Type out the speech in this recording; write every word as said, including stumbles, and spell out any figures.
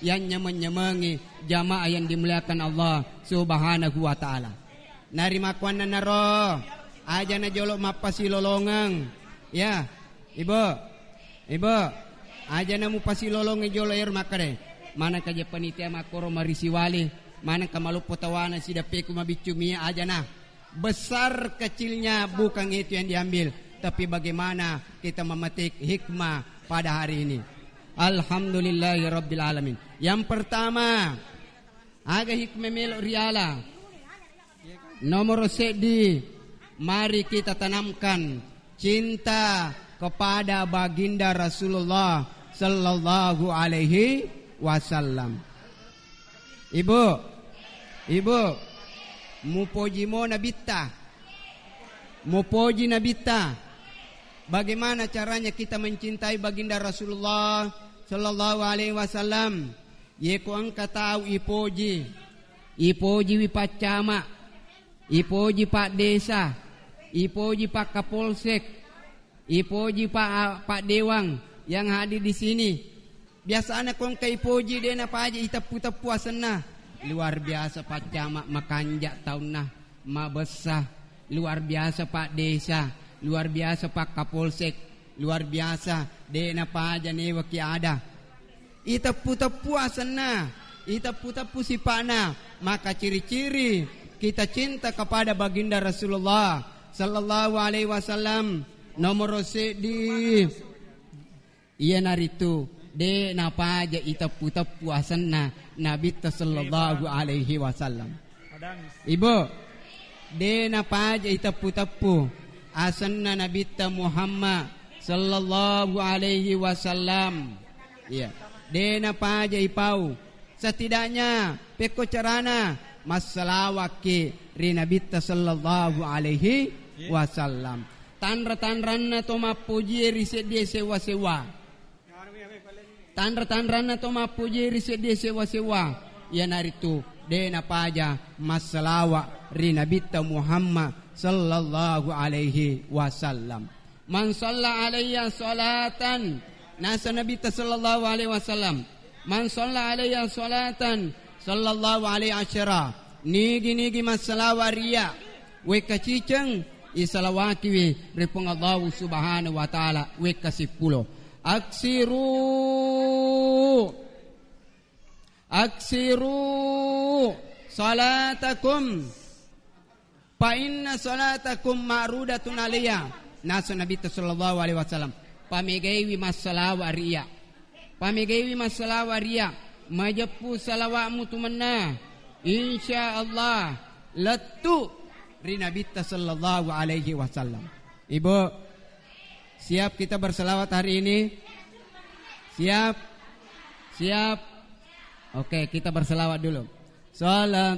yang nyameng-nyamengi jamaah yang dimuliakan Allah Subhanahu wa Ta'ala. Narimakkuannanaro, aja na jolo mappasilolongeng. Ya, Ibu, Ibu, aja na mupasilolongi jolo ero makkeda, manengka je panitia makkoro marisiwali, manengka maloppo tawana sideppeku mabiccu mie, aja na. Besar kecilnya bukan itu yang diambil, tapi bagaimana kita memetik hikmah pada hari ini. Alhamdulillahirabbil alamin. Yang pertama, aga hikmah melo riala? Nomor seddi, mari kita tanamkan cinta kepada baginda Rasulullah sallallahu alaihi wasallam. Ibu, Ibu, mupoji mo Nabitta. Mupoji Nabitta. Bagaimana caranya kita mencintai baginda Rasulullah sallallahu alaihi wasallam? Yeko engka tau ipoji, ipojiwi paccama, ipoji pak desa, ipoji pak kapolsek, ipoji pak, pak dewang yang hadir di sini. Biasana ko engka ipoji de napaja iteppu-teppu asenna. Luar biasa paccama makanja taunna, mabessa. Luar biasa pak desa, luar biasa pak kapolsek, luar biasa de napaja newaki ada. Iteppu-teppu asenna, iteppu-teppu sipa'na, maka ciri-ciri kita cinta kepada baginda Rasulullah sallallahu alaihi wasallam nomoro seddi. Iyanaritu de napaja iteppu-teppu asenna Nabitta sallallahu alaihi wasallam. Ibu, de napaja iteppu-teppu asenna Nabitta Muhammad sallallahu alaihi wasallam. Iya, de napaja ipau. Setidaknya pekko carana massalawakki ri Nabitta sallallahu alaihi wasallam. Tanra-tanranna to mappojie ri seddie sewa-sewa. Tanra-tanranna to mappojie ri seddie sewa-sewa, iyanaritu de napaja massalawa ri Nabitta Muhammad sallallahu alaihi wasallam. Man shalla alayya salatan, nasa Nabitta sallallahu alaihi wasallam, man shalla alayya salatan sallallahu alaihi asyara, nigi-nigi massalawa ria, wekka ciceng, isalawakiwi ri Puang Allahu Subhanahu wa Ta'ala wekka sippulo. Aksiru, aksiru salatakum, fa inna salatakum ma'rudatun alayya. Nasu Nabitta sallallahu alaihi wasallam, pamegaiwi massalawa ria. Pamegaiwi massalawa ria, majeppu salawa'mu tu mennang. Insya Allah, lettu ri Nabitta sallallahu alaihi wasallam. Ibu, siap kita berselawat hari ini? Siap? Siap? Oke, kita berselawat dulu. Salam